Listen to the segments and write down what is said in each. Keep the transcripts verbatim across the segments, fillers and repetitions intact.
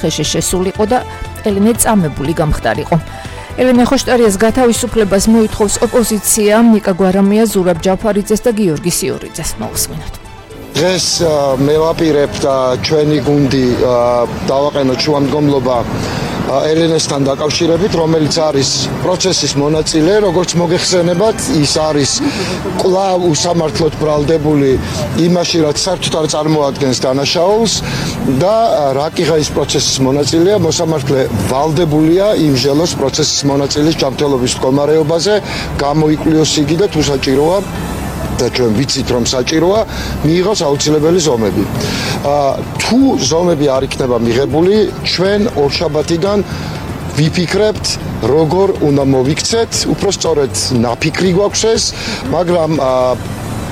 ხეში შესულიყო და ელენე წამებული გამხდარიყო. ელენე ხოშტარიას გათავისუფლებას მოითხოვს ოპოზიცია, ნიკა გვარამია, ზურაბ ჯაფარიძეს და გიორგი სიორიძეს. მოვსმინოთ. დღეს მე ვაპირებ და ჩვენი გუნდი დავაყენოთ შუამდგომლობა ელენესთან დაკავშირებით, რომელიც არის პროცესის მონაწილე, როგორც მოგეხსენებათ, ის არის კვლავ უსამართლოდ ბრალდებული იმაში, რაც საერთოდ არ წარმოადგენს დანაშაულს და რაკიღა ის პროცესის მონაწილეა, მოსამართლე ვალდებულია იმჟელოს პროცესის მონაწილის ჯანმრთელობის მდგომარეობაზე, გამოიკვლიოს იგი და თუ საჭიროა და ჩვენ ვიცით რომ საჭიროა მიიღოს აუცილებელი ზომები. თუ ზომები არ იქნება მიღებული, ჩვენ ორშაბათიდან ვიფიქრებთ როგორ უნდა მოვიქცეთ, უფრო სწორედ ნაფიქრი გვაქვს ეს, მაგრამ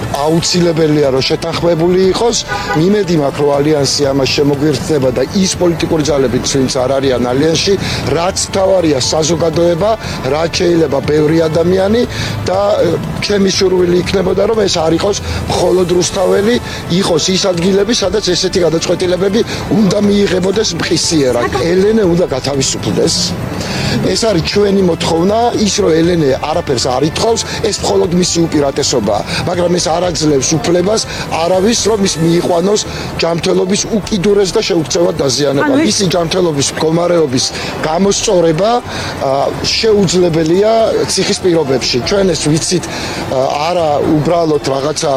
აუცილებელია რომ შეთანხმებული იყოს. მიმედი მაქვს რომ ალიანსი ამას შემოგვირთდება და ის პოლიტიკური ძალები, ვინც არ არიან ალიანსში, რაც თავარია საზოგადოება, რაც შეიძლება ბევრი ადამიანი და ჩემი სურვილი იქნებოდა რომ ეს არ იყოს მხოლოდ რუსთაველი, იყოს ის ადგილები, სადაც ესეთი გადაწყვეტილებები უნდა მიიღებოდეს მყისიერად. ელენე უნდა გათავისუფლდეს. ეს არის ჩვენი მოთხოვნა, ის რომ ელენე არაფერს არ ითხოვს, ეს მხოლოდ მისი უპირატესობაა, მაგრამ ეს არ აძლევს უფლებას არავის რომ ის მიიყვანოს ჯანმრთელობის უკიდურეს და შეუქცევად დაზიანება. მისი ჯანმრთელობის მდგომარეობის გამოსწორება შეუძლებელია ციხის პირობებში. ჩვენ ეს ვიცით არა უბრალოდ რაღაცა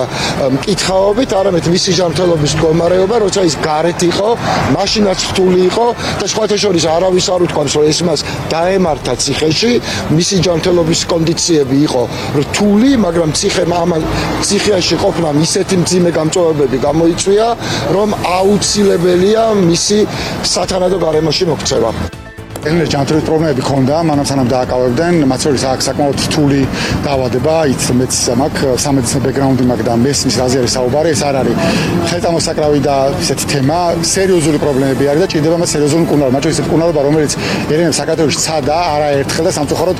მკითხაობით, არამედ მისი ჯანმრთელობის მდგომარეობა, როცა ის გარეთ იყო, მაშინაც რთული იყო და სხვათა შორის არავის არ უთქვამს რომ ეს მას დაემართა ციხეში, მისი ჯანმრთელობის კონდიციები იყო რთული, მაგრამ ციხემ ამან ციხეში ყოფნამ ისეთი მძიმე გამწვავებები გამოიწვია, რომ აუცილებელია მისი სათანადო გარემოში მოქცევა. ელენეს ჯანმრთელობის პრობლემები ჰქონდა, მანამ სანამ დააკავებდნენ, მათ შორის აქ საკმაოდ რთული დაავადება, იც მეც მაქვს სამედიცინო ბექგრაუნდი მაქვს და მესმის რაზე არის საუბარი, ეს არ არის ხელწამოსაკრავი და ესეთი თემა, სერიოზული პრობლემები არის და ჭირდება მას სერიოზული მკურნალობა, მათ შორის ეს მკურნალობა, რომელიც ელენეს საქართველოში ცადა, არაერთხელ და სამწუხაროდ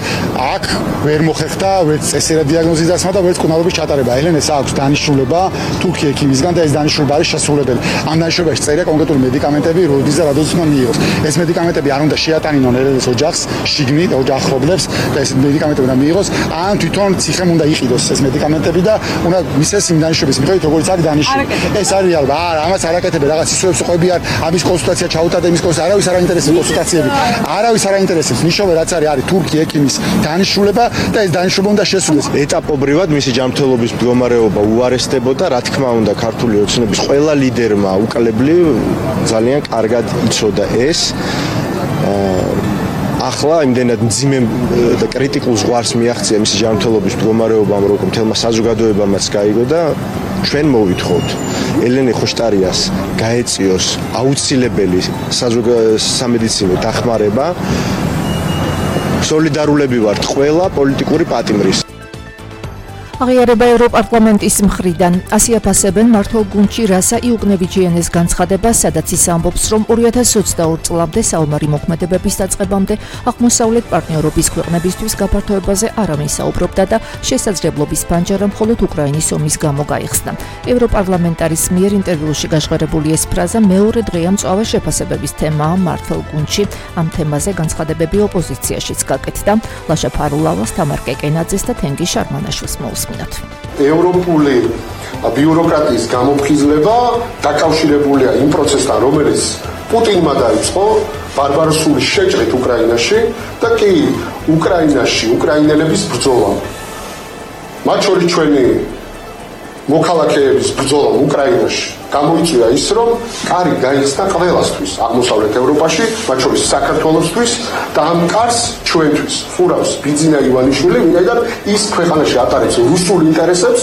აქ ვერ მოხერხდა ვერც წესერად დიაგნოზის დასმა და ვერც მკურნალობის ჩატარება. ელენეს აქვს დანიშნულება თურქი ექიმისგან და ეს დანიშნულება არის შესრულებელი. ამ დანიშნულებაში წერია კონკრეტული მედიკამენტები, როდის და რადგან უნდა მიიღოს. ეს მედიკამენტები არ უნდა შეატანინონ ელენეს ოჯახს, შიგნით ოჯახობლებს და ეს მედიკამენტები უნდა მიიღოს, ან თვითონ ციხემ უნდა იყიდოს ეს მედიკამენტები და უნდა მისცეს იმ დანიშნულების მიხედვით, როგორც არის დანიშნული. ეს არის რეალობა. არა, ამას არ აკეთებენ, რაღაც ისოებს ყვებიან, ამის კონსულტაცია ჩაუტარდა, იმის კონსულტაცია, არავის არ აინტერესებს კონსულტაციები. არავის არ აინტერესებს. ნიშნობა რაც არის, არის თურქი ექიმის დანიშნულება და ეს დანიშნულება უნდა შესრულდეს. ეტაპობრივად მისი ჯანმრთელობის მდგომარეობა უარესდებოდა, რა თქმა უნდა, ქართული ოცნების ყველა ლიდერმა უკალებლი ძალიან კარგად იცოდა ეს. ახლა იმდენად მძიმე და კრიტიკულ ზღვარს მიაღწია მისი ჯანმრთელობის მდგომარეობამ, რომ მთელმა საზოგადოებამაც გაიგო და ჩვენ მოვითხოვთ ელენე ხოშტარიას გაეწიოს აუცილებელი სამედიცინო დახმარება. სოლიდარულები ვართ ყველა პოლიტიკური პატიმრის. აღიარება ევროპარლამენტის მხრიდან. ასი აფასებენ მართლ გუნდში რასა იუგნევიჩიანეს განცხადებას, სადაც ის ამბობს, რომ ორი ათას ოცდაორი წლამდე საომარი მოქმედებების დაწყებამდე აღმოსავლეთ პარტნიორობის ქვეყნებისთვის გაფართოებაზე არავინ საუბრობდა და შესაძლებლობის პანჯარა მხოლოდ უკრაინის ომის გამო გაიხსნა. ევროპარლამენტარის მიერ ინტერვიუში გაჟღერებული ეს ფრაზა მეორე დღეა მწვავე შეფასებების თემაა მართლ გუნდში. ამ თემაზე განცხადებები ოპოზიციაშიც გაკეთდა. ლაშა ფარულავას, თამარ კეკენაძეს და თენგი შარმანაშვილს მოუსმინოთ. ევროპული ბიუროკრატიის გამოფხიზლება დაკავშირებულია იმ პროცესთან, რომელიც პუტინმა დაიწყო ბარბაროსული შეჭრით უკრაინაში და კი უკრაინაში უკრაინელების ბრძოლა. მათ შორის ჩვენი მოქალაქეების ბრძოლა უკრაინაში გამოიწვია ის, რომ კარი გაიხსნა ყველასთვის აღმოსავლეთ ევროპაში, მათ შორის საქართველოსთვის და ამ კარს ჩვენთვის ხურავს ბიძინა ივანიშვილი, ვინაიდან ის ქვეყანაში ატარებს რუსულ ინტერესებს,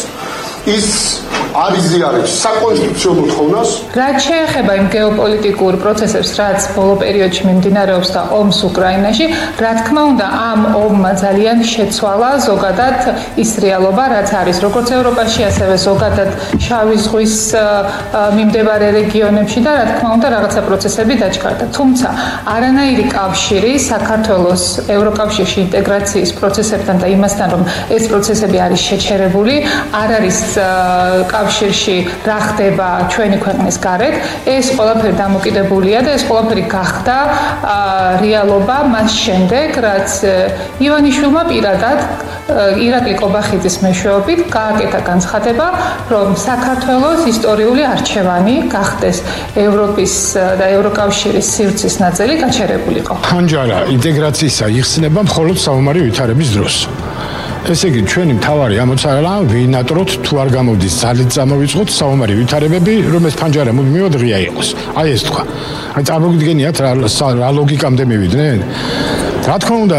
ის არიზიარებს საკონსტიტუციო მოთხოვნას. რაც შეეხება იმ გეოპოლიტიკურ პროცესებს, რაც ბოლო პერიოდში მიმდინარეობს და ომს უკრაინაში, რა თქმა უნდა, ამ ომმა ძალიან შეცვალა ზოგადად ის რეალობა, რაც არის როგორც ევროპაში, ასევე ზოგადად შავი ზღვის მიმდებარე რეგიონებში და რა თქმა უნდა, რაღაცა პროცესები დაჩქარდა. თუმცა, არანაირი კავშირი საქართველოს ევროკავშირში ინტეგრაციის პროცესებთან და იმასთან, რომ ეს პროცესები არის შეჩერებული, არ არის ევროკავშირში რა ხდება ჩვენი ქვეყნის გარეთ, ეს ყველაფერი დამოკიდებულია და ეს ყველაფერი გახდა რეალობა მას შემდეგ, რაც ივანიშვილმა პირადად ირაკლი კობახიძის მეშვეობით გააკეთა განცხადება, რომ საქართველოს ისტორიული არჩევანი გახდეს ევროპის და ევროკავშირის სივრცის ნაწილი გაჩერებულიყო. ფანჯარა ინტეგრაციისა იხსნება მხოლოდ საომარი ვითარების დროს. ესე იგი, ჩვენი მთავარი ამოცანა ვინატროთ თუ არ გამოვდის ძალით წამოვიწყოთ საომარი ვითარებები, რომ ეს ფანჯარა მუდმივად ღია იყოს. აი ეს თქვა. აი წარმოგიდგენიათ რა რა ლოგიკამდე მივიდნენ? რა თქმა უნდა,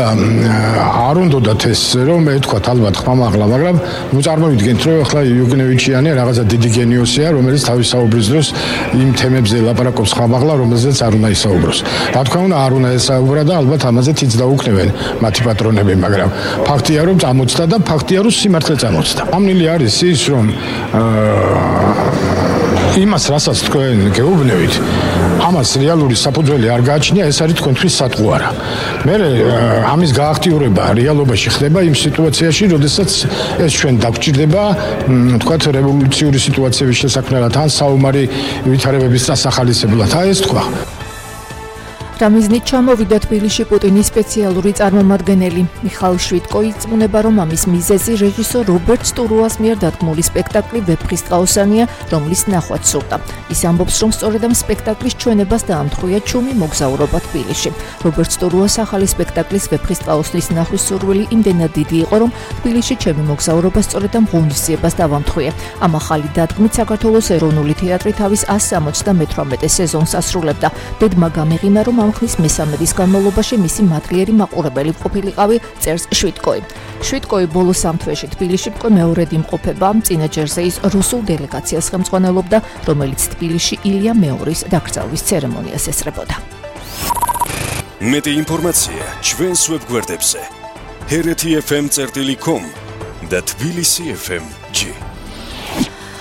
არ უნდათ ეს რომ ეთქვათ ალბათ ხმამაღლა, მაგრამ ნუ წარმოვიდგენთ, რომ ახლა იუგნევიჩიანი რაღაცა დიდი გენიოსია, რომელიც თავის საუბრის დროს იმ თემებზე ლაპარაკობს ხმამაღლა, რომელზეც არ უნდა ისაუბროს. რა თქმა უნდა, არ უნდა ესაუბრა და ალბათ ამაზე თიც დაუქნევენ მათი პატრონები, მაგრამ ფაქტია, რომ წამოწდა და ფაქტია, რომ სიმართლე წამოწდა. ამნილი არის ის, რომ იმას, რასაც თქვენ გეუბნებით, ამას რეალური საფუძველი არ გააჩნია, ეს არის თქვენთვის სატყუარა. მე ამის გააქტიურება რეალობაში ხდება იმ სიტუაციაში, როდესაც ეს ჩვენ დაგვჭირდება, თქვათ, რევოლუციური სიტუაციების შესაქმნელად ან საომარი ვითარებების დასახალისებლად. აი ეს თქვა. რამიზნით ჩამოვიდა თბილისში პუტინის სპეციალური წარმომადგენელი. მიხაილ შვიტკო იწმუნება, რომ ამის მიზეზი რეჟისორ რობერტ სტურუას მიერ დადგმული სპექტაკლი ვეფხისტყაოსანია, რომლის ნახვაც სურდა. ის ამბობს, რომ სწორედ ამ სპექტაკლის ჩვენებას დაამთხვია ჩუმი მოგზაურობა თბილისში. რობერტ სტურუას ახალი სპექტაკლის ვეფხისტყაოსნის ნახვის სურვილი იმდენად დიდი იყო, რომ თბილისში ჩემი მოგზაურობა სწორედ ამ ღონისძიებას დავამთხვია. ამ ახალი დადგმით საქართველოს ეროვნული თეატრი თავის ასს სამოცდამეთვრამეტე სეზონს ასრულებდა. დედმა გამეღინა, რომ ხმის მესამედის განმავლობაში მისი მადლიერი მაყურებელი ყოფილიყავი, წერს შვიტკოი. შვიტკოი ბოლო სამ თვეში თბილისში უკვე მეორედ იმყოფება, წინა ჯერზე ის რუსულ დელეგაციას ხელმძღვანელობდა, რომელიც თბილისში ილია მეორის დაკრძალვის ცერემონიას ესწრებოდა. მეტი ინფორმაცია ჩვენს ვებგვერდებზე ჰერეთი ეფ ემ წერტილი კომ და თბილისი ეფ ემ ჯი.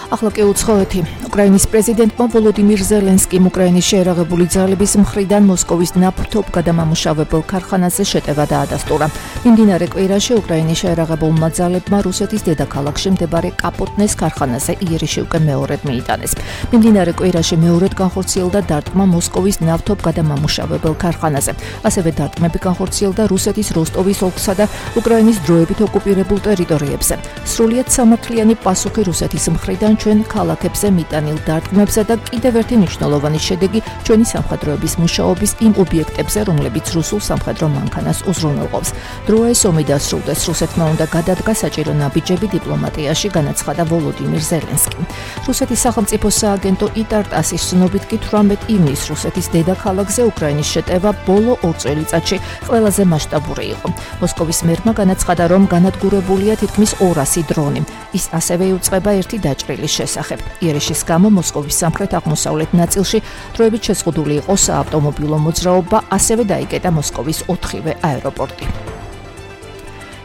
ახლა კი უცხოეთი. უკრაინის პრეზიდენტმა ვოლოდიმირ ზელენსკიმ უკრაინის შეერაღებული ძალების მხრიდან მოსკოვის ნავთობ გადამამუშავებელ ქარხანაზე შეტევა დაადასტურა. მიმდინარე კვირაში უკრაინის შეერაღებულმა ძალებმა რუსეთის დედაქალაქში მდებარე კაპოტნეს ქარხანაზე იერიშში უკვე მეორედ მიიტანეს. მიმდინარე კვირაში მეორედ განხორციელდა დარტყმა მოსკოვის ნავთობ გადამამუშავებელ ქარხანაზე. ასევე დარტყმები განხორციელდა რუსეთის როსტოვის ოლქსა და უკრაინის დროებით ოკუპირებულ ტერიტორიებზე. სრულიად სამართლიანი პასუხი რუსეთის მხრიდან ჩვენ ქალაქებზე მიტანილ დარტყმებსა და კიდევ ერთი მნიშვნელოვანი შედეგი ჩვენი სამხედროების მუშაობის იმ ობიექტებზე, რომლებიც რუსულ სამხედრო მანქანას უზრუნველყოფს. დროა ეს ომი დასრულდეს, რუსეთმა უნდა გადადგა საჭირო ნაბიჯები დიპლომატიაში, განაცხადა ვოლოდიმირ ზელენსკიმ. რუსეთის სახელმწიფო სააგენტო იტარტასის ცნობით კი თვრამეტ ივნისს რუსეთის დედაქალაქზე უკრაინის შეტევა ბოლო ორ წელიწადში ყველაზე მასშტაბური იყო. მოსკოვის მერმა განაცხადა, რომ განადგურებულია თითქმის ორასი დრონი. ის ასევე იუწყება ერთი დაჭრილი შესახებ. იერიშის გამო მოსკოვის სამხრეთ-აღმოსავლეთ ნაწილში დროებით შეზღუდული იყო საავტომობილო მოძრაობა, ასევე დაიკეტა მოსკოვის ოთხივე აეროპორტი.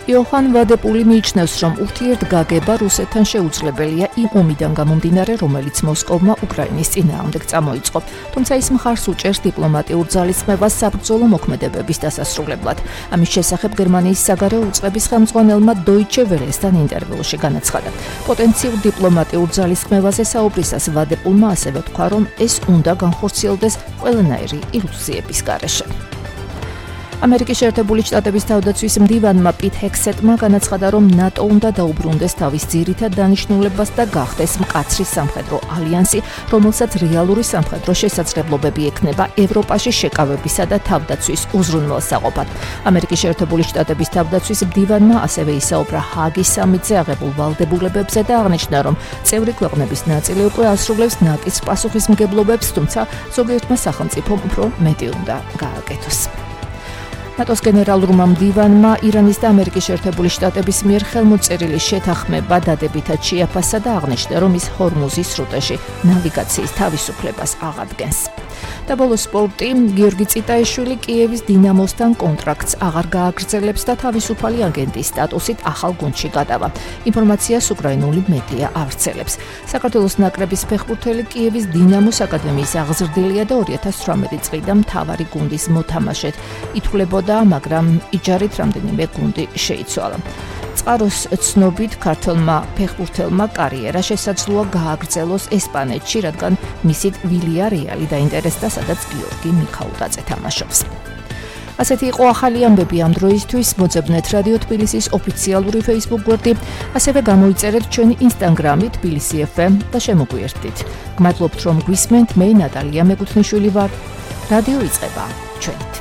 იოჰან ვადეპული მიიჩნევს, რომ ურთიერთგაგება რუსეთთან შეუძლებელია იმ ომიდან გამომდინარე, რომელიც მოსკოვმა უკრაინის წინააღმდეგ წამოიწყო. თუმცა ის მხარს უჭერს დიპლომატიურ ძალისხმევას საბრძოლო მოქმედებების დასასრულებლად. ამის შესახებ გერმანიის საგარეო უწყების ხელმძღვანელმა დოიჩე ველესთან ინტერვიუში განაცხადა. პოტენციურ დიპლომატიურ ძალისხმევაზე საუბრისას ვადეპულმა ასევე თქვა, რომ ეს უნდა განხორციელდეს ყველანაირი ილუზიების გარეშე. ამერიკის შეერთებული შტატების თავდაცვის მდივანმა პიტ ჰექსეტმა განაცხადა, რომ ნატო უნდა დაუბრუნდეს თავის ძირითად დანიშნულებას და გახდეს მკაცრი სამხედრო ალიანსი, რომელსაც რეალური სამხედრო შესაძლებლობები ექნება ევროპაში შეკავებისა და თავდაცვის უზრუნველსაყოფად. ამერიკის შეერთებული შტატების თავდაცვის მდივანმა ასევე ისაუბრა ჰააგის სამიტზე აღებულ ვალდებულებებზე და აღნიშნა, რომ წევრი ქვეყნების ნაწილი უკვე ასრულებს ნაკის პასუხისმგებლობებს, თუმცა ზოგიერთმა სახელმწიფომ უფრო მეტი უნდა გააკეთოს. ნატოს გენერალურმა მდივანმა ირანის და ამერიკის შეერთებული შტატების მიერ ხელმოწერილი შეთანხმება დადებითად შეაფასა და აღნიშნა, რომ ის ჰორმუზის სრუტეში ნავიგაციის თავისუფლებას აღადგენს. და ბოლო სპორტი, გიორგი წიტაიშვილი კიევის დინამოსთან კონტრაქტს აღარ გააგრძელებს და თავისუფალი აგენტის სტატუსით ახალ გუნდში გადავა. ინფორმაციას უკრაინული მედია ავრცელებს. საქართველოს ნაკრების ფეხბურთელი კიევის დინამოს აკადემიის აღზრდილია და ორი ათას თვრამეტი წლიდან მთავარი გუნდის მოთამაშედ ითვლებოდა, მაგრამ იჯარით რამდენიმე გუნდი შეიცვალა. წყაროს ცნობით ქართველმა ფეხბურთელმა კარიერა შესაძლოა გააგრძელოს ესპანეთში, რადგან მისით ვილიარეალი დაინტერესდა, სადაც გიორგი მიქაუტაძე თამაშობს. ასეთი იყო ახალი ამბები ამ დროისთვის. მოძებნეთ რადიო თბილისის ოფიციალური Facebook გვერდი, ასევე გამოიწერეთ ჩვენი Instagram-ი თბილისი ეფ ემ და შემოგვიერთდით. გმადლობთ რომ გვისმენთ, მე ნატალია მეკუთვნიშვილი ვარ. რადიო იწყება ჩვენით.